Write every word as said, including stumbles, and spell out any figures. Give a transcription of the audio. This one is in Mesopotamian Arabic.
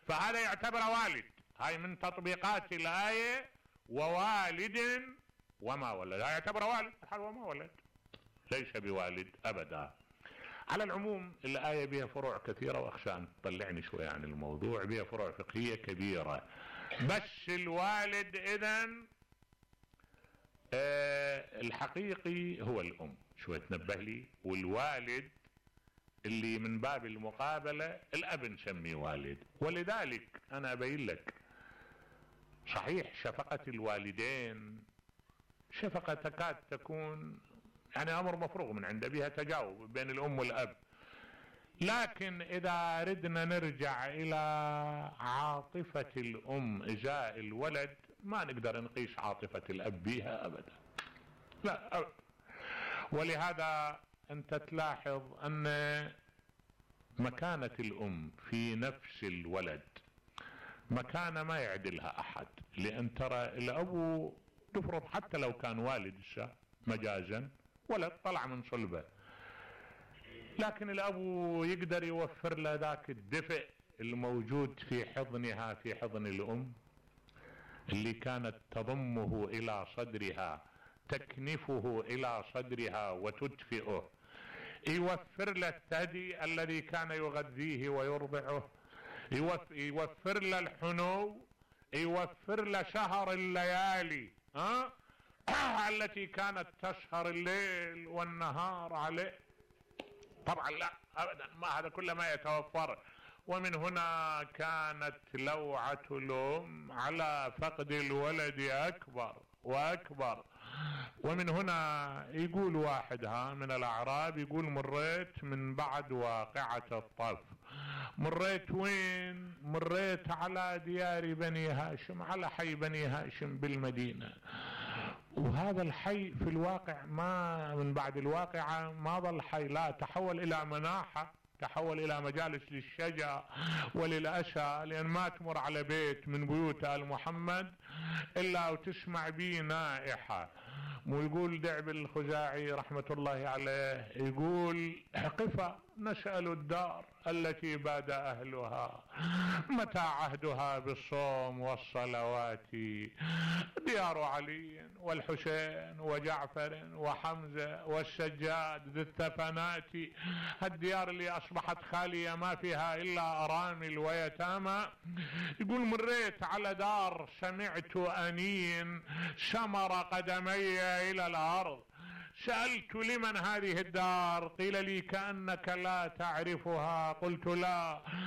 فهذا يعتبر والد. هاي من تطبيقات الآية ووالد وما ولد، هاي يعتبر والد حال وما ولد، ليس بوالد أبدا. على العموم الآية بها فروع كثيرة، وأخشى أن تطلعني شوية عن الموضوع، بها فروع فقهية كبيرة. بس الوالد إذن آه الحقيقي هو الأم، شوية تنبه لي، والوالد اللي من باب المقابلة الأب نسميه والد. ولذلك أنا أبين لك صحيح شفقة الوالدين شفقة تكاد تكون يعني أمر مفروغ من عنده، بها تجاوب بين الأم والأب، لكن إذا ردنا نرجع إلى عاطفة الأم إزاء الولد ما نقدر نقيس عاطفة الأب بها أبدا، لا أبدا. ولهذا أنت تلاحظ أن مكانة الأم في نفس الولد مكانة ما يعدلها أحد، لأن ترى الأب تفرض حتى لو كان والد مجازا ولد طلع من صلبه، لكن الأب يقدر يوفر له ذاك الدفء الموجود في حضنها، في حضن الأم اللي كانت تضمه إلى صدرها، تكنفه إلى صدرها وتدفئه، يوفر له الثدي الذي كان يغذيه ويرضعه، يوفر له الحنو، يوفر له شهر الليالي ها التي كانت تسهر الليل والنهار عليه. طبعا لا ابدا، ما هذا كله ما يتوفر. ومن هنا كانت لوعة الأم على فقد الولد أكبر وأكبر. ومن هنا يقول واحد ها من الأعراب، يقول مريت من بعد واقعة الطف. مريت وين؟ مريت على ديار بني هاشم، على حي بني هاشم بالمدينة، وهذا الحي في الواقع ما من بعد الواقعة ما ظل حي، لا تحول إلى مناحة، تحول إلى مجالس للشجع وللأسى، لأن ما تمر على بيت من بيوت آل محمد إلا وتسمع به نائحة. ويقول دعب الخزاعي رحمة الله عليه، يقول قفا نسأل الدار التي باد أهلها متى عهدها بالصوم والصلوات، ديار علي والحسين وجعفر وحمزة والسجاد ذي الثفنات، الديار اللي أصبحت خالية ما فيها إلا أرامل ويتامى. يقول مريت على دار سمعت أنين سمر قدمي إلى الأرض، سألت لمن هذه الدار؟ قيل لي كأنك لا تعرفها. قلت لا،